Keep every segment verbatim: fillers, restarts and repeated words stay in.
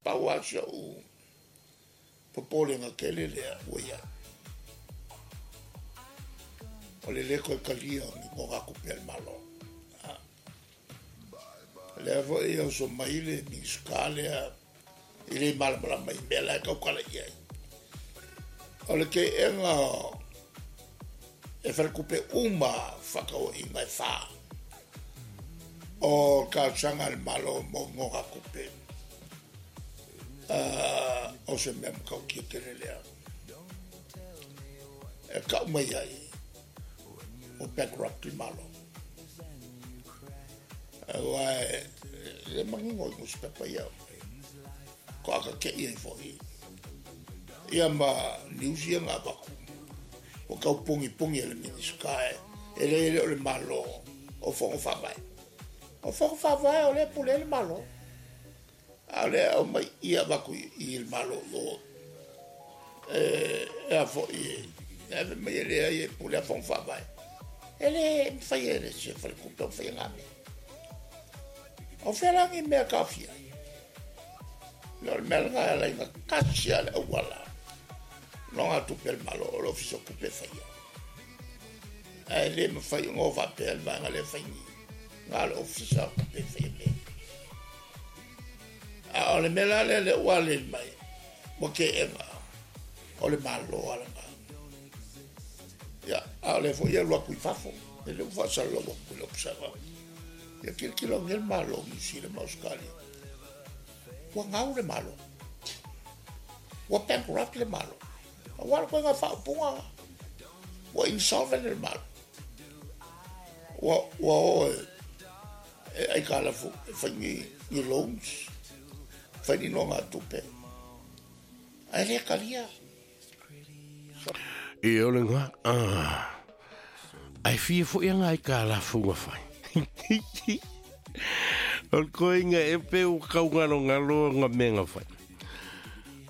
Pau lava si o'u popolega tele lea ua iai, o le lē toe talia o ni nogatupe a le Malo. Lea foi e oso mai le Minisita lea e le malamalama i mea la e tautala i ai. O le teena e faletupe uma fefaatauaiga e fa o talosaga a le Malo mo nogatupe, o se mea matautia tele lea e tau mai ai ua bankrupt le Malo. Aua e le manino i nusipepa ia faatoa tate'i ai foi ia ma news ia na avatu ua tau pugipuni e le Minisita e leai e le o le Malo o Fono Faavae. O Fono Faavae o lea e pule ai le Malo, a o lea e aumai i avatu i le Malo i o e a foi e ave mai e leai e pule a Fono Faavae. E le mafai e se faletupe ona faia na mea. O fea la ni mea e taofia ai? O le mea lena e ala ai ona tasi lava le auala nogatupe a le Malo o le Ofisa o Tupe e faia. Ae le mafai ona o faapea le vaega lea e fai ni na o le Ofisa o Tupe e faia mea. A o le mea la lea lea ua aleli mai ua teena, o le Malo lava lena. Ia, a o lea foi e alu atu i fafo, e le ua faasalalau atu i le Observer. Ia tilotilo ane le Malo o Niu Sila ma Ausetalia, ua gau le Malo, ua bankrupt le Malo. Aua le ituaiga faaupuga lena, ua insolvent le Malo. Ua ua o e e aitalafu e fai ni, ni loans, fai ni nogatupe, ae le talia. E o le ngā, ah. Ai fia foi anga ai ka lafu nga fai. O le koinga e pe u kau ngalo ngalo nga me nga fai.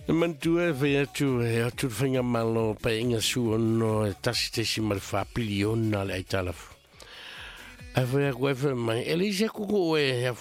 E mantua e fai atu e atu le whainga malo pa inga su ono e tasi tesi ma le wha piliona le aitalafu. Ai fai aku e fai mai, e le isi aku ko e hea